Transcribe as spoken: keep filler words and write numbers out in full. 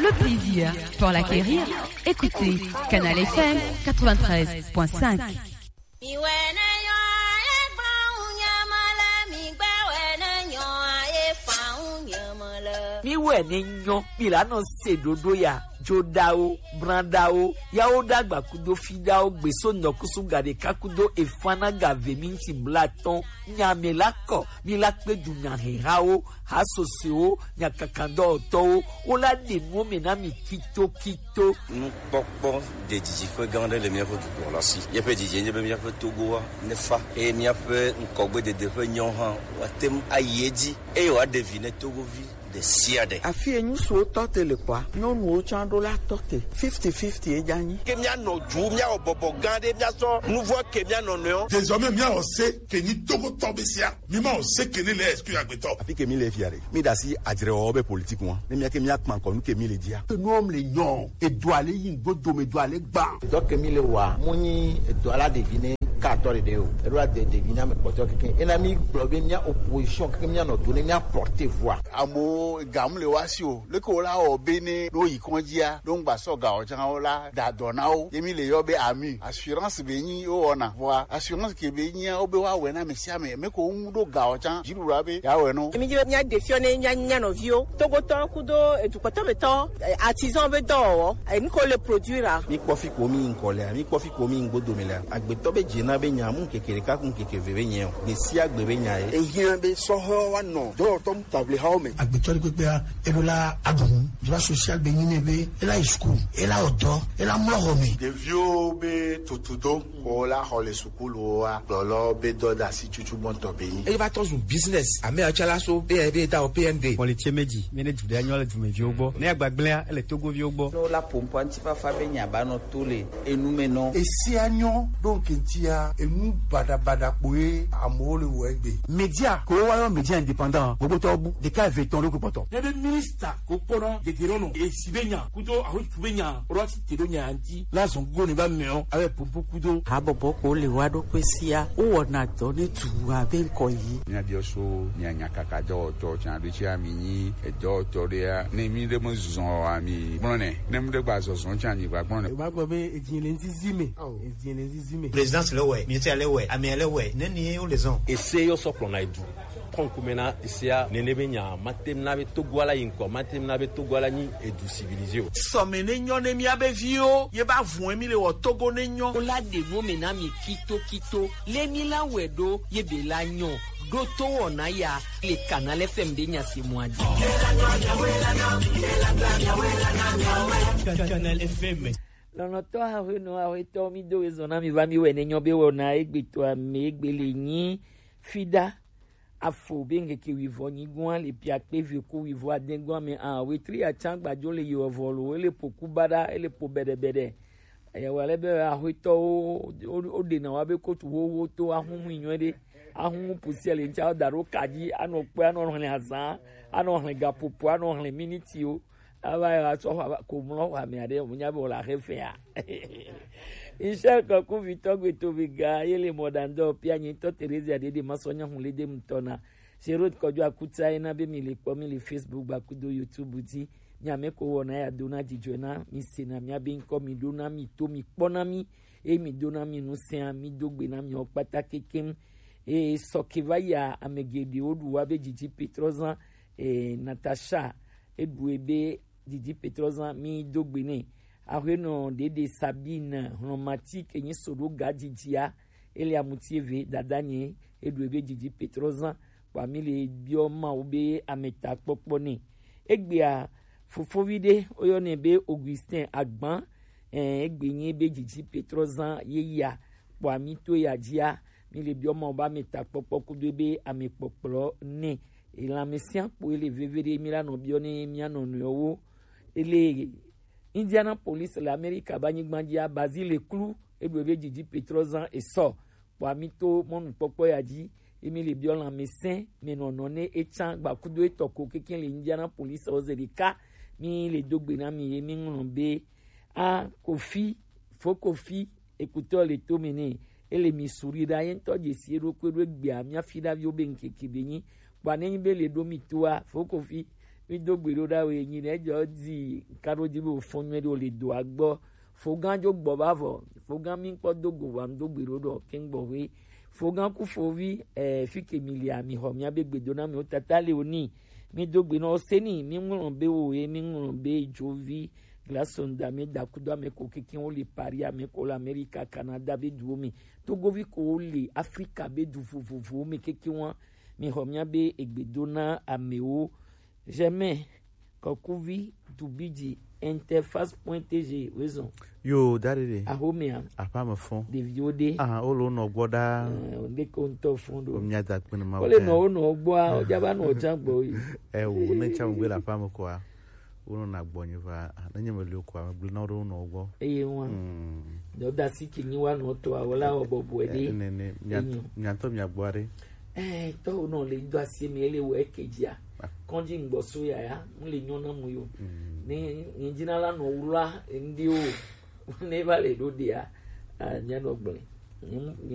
Le plaisir pour l'acquérir, écoutez Canal F M quatre-vingt-treize point cinq. Mi wɛ ne nyɔ, mi la nɔ se ɖoɖo ya, joɖawo, branɖawo, yawo ɖagba kudo fiɖawo, gbeso nɔkusu ga ɖeka kudo efana ga ve minti blatɔn, nya mi la kɔ, mi la kpe du nya hehawo, hasosewo, nyakakadɔwɔtɔwo, wo la ɖe nuwo me na mi kitokito. Nukpɔkpɔ ɖe didiƒe gã aɖe le míaƒe dukɔ la si. Míaƒe didi nye be míaƒe Togoa nefa eye míaƒe ŋkɔgbedede ƒe nyawo hã woate ŋu ayi edzi eye wòaɖe vi ne Togovi ɖe sia ɖe. Afi enyi suwo tɔ te le kɔa, nyɔnuwo tsã ɖo la tɔ te. Fifty fifty edza nyi. Ke míanɔ du, míawɔ bɔbɔ gã ɖe, míasɔ nuvɔ ke míanɔ nɔewo. Désormais, míawɔ se ke nyi Togotɔ be sia. Mi ma o se ke ne le esprit agbetɔ. Afi ke mi le fia ɖe. Mi ɖe asi adzrewɔwɔ be politique ŋua. Ne mía ke mía kpa ŋkɔ nu ke mi le dzia. Ke nuwo le nyɔ. Edua le yi ŋgbo dome, edua le gba. Edɔ ke mi le wa, mo nyi edɔ la ɖevi ne ka atɔ ɖeɖe o. Eɖo la de ɖevi na me kpɔtɔ keke. Ena mi gblɔ be mía opposition keke mía nɔ do ne mía porte voix. Amewo ga mu le wa si o. Leke wo la wɔ be ne ɖo yi kɔndzia, ɖo ŋgba sɔ ga o tsã wo la da dɔ na wo. Ye mi le yɔ be ami. Assurance be nyi wo wɔna. Vɔa assurance ke be nyia wo be wa wɛ na ame sia ame. Me ko ŋu ɖo ga o tsã. Dziɖuɖua be ya wɛ no. Emi dzi be mía ɖe fiɔ ne mía nya nɔviwo. Togotɔ kudo edukpɔtɔmetɔ, eh, artisan be dɔwɔwɔ. Eh, nu ko le produire a. Mi kpɔ fi ko mi ŋkɔ lea, mi kpɔ fi ko mi ŋgbo dome lea. Agbetɔ be dze na be nya mu keke ɖeka ku keke ve be nya o. Gbe sia gbe be nya ye. Ehiã be sɔhɔ wa nɔ dɔwɔtɔ mu table hawo me. Agbetɔ ɖe kpekpea, eɖo la aɖu nu. Droit social be nyi nɛ be ela yi school, ela wɔ dɔ, ela mlɔ xɔ me. Ɖeviwo be tutudo ko la xɔ le sukuluwoa, kplɔlɔ be dɔdeasi tutu gbɔntɔ be nyi. Eye va tɔ zu business. Ame atsɔ la so be be da o P N D. Xɔ le tse me dzi, mi ne du ɖe anyɔ le dumeviwo gbɔ. Ne agbagblẽa, ele Togoviwo gbɔ. Ne wola ƒo ŋkɔ ŋutifafa be nya ba nɔ to le enu me nɔ. Esia nyɔ ɖo ŋke ŋutia, enu baɖabaɖa kpoe amewo le wɔ egbe. Media ko wa yɔ media indépendant, gbogbo tɔ bu, ɖeka eve tɔn ɖo kpɔtɔ. Ne be minista ko kpɔna dedero nɔ, esi be nya, kudo ahotu be nya, ro asi te ɖo nya ŋuti, la zɔn go ne ba mɛ o, abe pompo kudo. Habɔbɔ ko le wa ɖo kpe sia, wo wɔna dɔ ne tu abe ŋkɔ yi. Mía biɔ so, mía nya kaka dɔwɔtɔ, tsan ɖo tsi ami nyi, edɔwɔtɔ ɖea, ne mi ɖe me zɔzɔ ami gblɔ nɛ, ne mi ɖe gba zɔzɔ tsi ami gba gblɔ nɛ. Ba gbɔ be edzi le ŋzizi me. Edzi le ŋzizi me. Présidence le wɛ, ministère le wɛ, amea le wɛ, ne ni wo le zɔn. Ese yɔ sɔ kplɔna edu. Kɔnkume na esia nene be nya, matem na be Togo ala yi ŋkɔ, matem na be Togo ala nyi edu civilisé o. Sɔme ne nyɔ ne mía be viwo, ye ba vun mi le wɔ Togo ne nyɔ. Wo la ɖe nuwo me na mi kito kito, le mi la wɛ ɖo, ye be la nyɔ. Ɖo to wɔna ya, le Canal F M be nya se mɔ adzi. Canal F M. Lɔlɔtɔ ahoenɔ ahoetɔ, mi do ezɔ na mi va mi wɛ ne nyɔ be wɔna egbe to ame egbe le nyi fida. Afo be ŋkeke wuivɔ nyigoa le piakpe ve ku wuivɔ adɛgoa me a, wetri atsa gbadzo le yewɔ vɔ lo, ele po ku baɖa, ele po bɛɖɛbɛɖɛ. Eyawo ale be ahoetɔwo, wo, woɖena wa be kotu xoxo to ahunhui nyuie ɖe. Ahun pusia le ŋtsa da ɖo ka dzi, anɔ kpɔe, anɔ hlẽ azã, anɔ hlẽ gaƒoƒo, anɔ hlẽ minitiwo. Ava yi atsɔ xɔ ava ko mlɔ xɔ ame aɖe, mo nya be wòle axe fea. Michel Kɔkuvitɔ gbeto be ga ye le mɔ ɖa ŋdɔ pia nyi tɔ Teresa ɖe ɖe masɔ nya hun le de ŋutɔ na. Sherod kɔjɔ akutsa ye na be mi le kpɔ mi le Facebook ba kudo YouTube dzi. Mi ame ko wɔna ya do na dzidzɔ na mi se na mi abe ŋkɔ mi ɖo na mi to mi kpɔ na mi. Eye mi do na mi nusẽa, mi do gbe na miawo kpata kekeŋ. Eye sɔke va yia, ame geɖewo ɖu wa be dzidzi Petrɔ zã, eh, Natasha, eɖu ebe dzidzi Petrɔ zã, mi do gbe nɛ. Aƒenɔ ɖeɖe Sabine Hlɔmati ke nyi so ɖo ga dzidzia, ele amuti eve dada nye, eɖu ebe dzidzi Petrɔ zã, kpɔa mi le biɔ Mawu be ametakpɔkpɔ nɛ. Egbea, fofovi ɖe, woyɔnɛ be Augustin Agban, eh, egbe nyi be dzidzi Petrɔ zã ye ya, kpɔa mi to ya dzia, mi le biɔ Mawu be ametakpɔkpɔ kudo be amekpɔkplɔ nɛ. Elãmesẽa kpo ele veve ɖe mi la nɔ biɔ ne mia nɔ nɔewo. Ele Indianapolis le Amerika be anyigba dzia, Bazile klu, eɖu ebe dzidzi Petrɔ zã esɔ. Kpɔa mi to mɔnukpɔkpɔ ya dzi, ye mi le biɔ lãmesẽ me nɔnɔ ne etsã gbakudo etɔ ko kekeŋ le Indianapolis ɔ ze ɖeka. Mi le do gbe na mi ye mi ŋlɔ be, a, Kofi, fo Kofi, ekutɔ le to me nɛ, ele mi suri ɖa ye ŋutɔ dzesi eɖokui ɖo egbea mia fi ɖaviwo be ŋkeke be nyi. Kpɔa ne nyi be le ɖo mi toa, fo Kofi, Mi do gbe ɖo ɖa we nyi ne jɔ di ka ɖo di be fɔn nyuie ɖo le do agbɔ. Fogan jo gbɔ va vɔ. Fogan mi kpɔ do go wa do gbe ɖo ɖɔ ke gbɔ we. Fogan ku fovi, eh, fi ke mi lia mi xɔ mi abe gbe do na mi o tata le o ni. Mi do gbe nɔ seni mi ŋlɔ be o ye mi ŋlɔ be jo vi. Glasonda mi da kudo ame ko keke wo le Paris ame ko le Amerika Canada be du wo mi. Togovi ko wo le Afrika be du vovovo mi keke wa. Mi xɔ mi abe egbe do na ame wo. Jamais. Kɔkuvi Dubidzi interface point T G raison. Yo, dare de. Axomea. Aƒea me fɔ. Ɖeviwo ɖe. Ah, wo le wo nɔ gbɔ ɖaa. Eh, wonde ko ŋutɔ fɔ ɖo. Wo mia da kpe ne ma. Wo le nɔ wo nɔ gbɔa, wo dza va nɔ dza gbɔ yi. Eh, wo ne tsa mo gbe le aƒea me koa, wo nɔ na gbɔ nyi va. Ah, ne nye me le koa, me gblẽ na wo ɖe wo nɔ gbɔ. Eye wa. Mm. Dɔ da si ke nyi wa nɔ tɔ awo la wɔ bɔbɔe ɖe. Eh, ne, ne, mia, enyi. Mia tɔ mia gbɔ ɖe. Eh, tɔ wo nɔ le do asi mi ele wo eke dzia. Ah. Kɔndzi ŋgbɔ so yaya, mu le nyɔ na mu yo. Mm. Ne, ne dzina la nɔ wula ndi o. Ne va le ɖo ɖia, ah, mia nɔ gblẽ. Mm.